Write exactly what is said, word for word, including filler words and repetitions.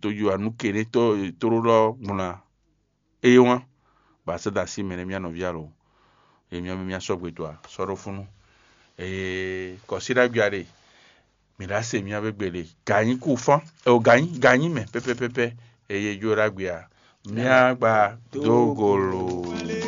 tó yí wa nú keɖé tó tlóló gbɔn ná. Eye wán, bɔ a sɛ́ dó así mɛ nɛ́ mía nɔví alo. Eye mía mɛ mía sɔ́ gbe dó a sɔ́ ɖó fúnnu. Eye kɔsí ɖagbe a ɖe, mǐ ɖo ase mía bɛ gbe ɖe gǎnyí kú fán, ɛ o gǎnyí gǎnyí mɛ pɛpɛpɛpɛ. Eye jó ɖagbe a, mía gba dó golo.